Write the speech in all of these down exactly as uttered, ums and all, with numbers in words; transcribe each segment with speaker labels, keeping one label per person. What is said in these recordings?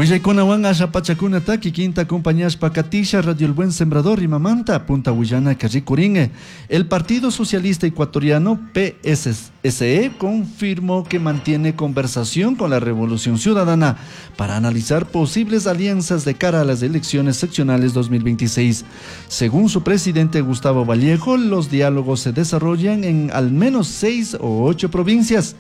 Speaker 1: Willaykunawan asha pachakunata kikinta acompañashpa katisha Radio El Buen Sembrador Rimamanta punta willanaka rikurin. El Partido Socialista Ecuatoriano P S S E confirmó que mantiene conversación con la Revolución Ciudadana para analizar posibles alianzas de cara a las elecciones seccionales dos mil veintiséis. Según su presidente Gustavo Vallejo, los diálogos se desarrollan en al menos seis o ocho provincias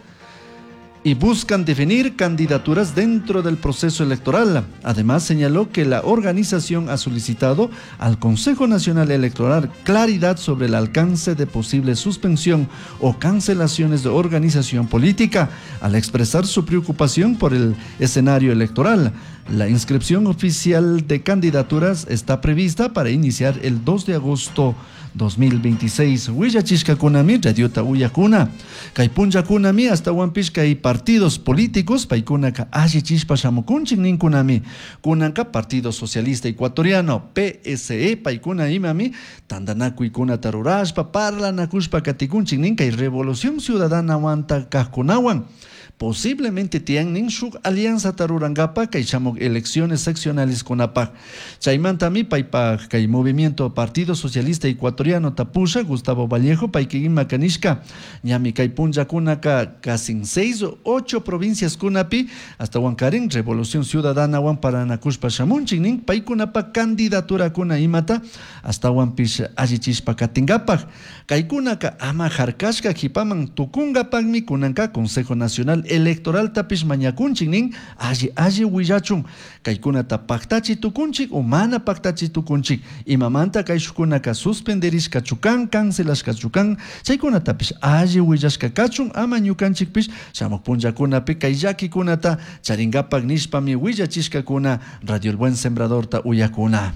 Speaker 1: y buscan definir candidaturas dentro del proceso electoral. Además, señaló que la organización ha solicitado al Consejo Nacional Electoral claridad sobre el alcance de posible suspensión o cancelaciones de organización política, al expresar su preocupación por el escenario electoral. La inscripción oficial de candidaturas está prevista para iniciar el dos de agosto dos mil veintiséis. Willachishkakunami radiota uyakuna. Kay punllakunami ashtahuanpish kay partidos políticos paykunaka allichishpa shamukunchik ninkunami. Kunanka Partido Socialista Ecuatoriano P S E paykuna imami tantanakuykunata rurashpa parlanakushpa katikunchik nin kay Revolución Ciudadana wanta kajkunawan. Posiblemente tiyan shuk alianza rurankapa kay shamuk elecciones seccionales kunapaj. Chaymantami paypaj kay movimiento Partido Socialista Ecuatoriano tapusha Gustavo Vallejo payka ima kanishka ñami kay punllakunaka casi seis o ocho provincias kunapi ashtahuankarin Revolución Ciudadana wan parlanakushpa shamunchik nin paykunapa candidatura kuna imata ashtahuanpish allichishpa katinkapaj. Kaykunaka ama harkashka kipaman tukunkapakmi kunanka Consejo Nacional Electoral tapish mañakunchik nin alli alli willachun kaykunata paktachi tukunchik o mana paktachi tukunchik, imamanta kayshukunaka suspenderishkachu kan, cancelashkachu kan, chaykunatapish alli willashka kachun ama ñukanchikpish shamuk punllakunapi kay llakikunata charinkapak nishpami willachishkakuna Radio El Buen Sembradorta uyakuna.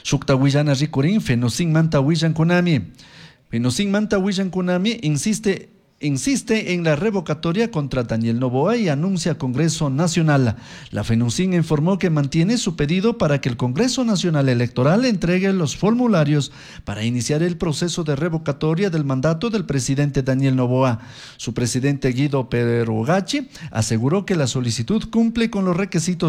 Speaker 1: Shukta willana rikurin Fenocinmanta willankunami. Fenocinmanta willankunami insiste insiste en la revocatoria contra Daniel Noboa y anuncia Congreso Nacional. La FENOCIN informó que mantiene su pedido para que el Congreso Nacional Electoral entregue los formularios para iniciar el proceso de revocatoria del mandato del presidente Daniel Noboa. Su presidente Guido Perugachi aseguró que la solicitud cumple con los requisitos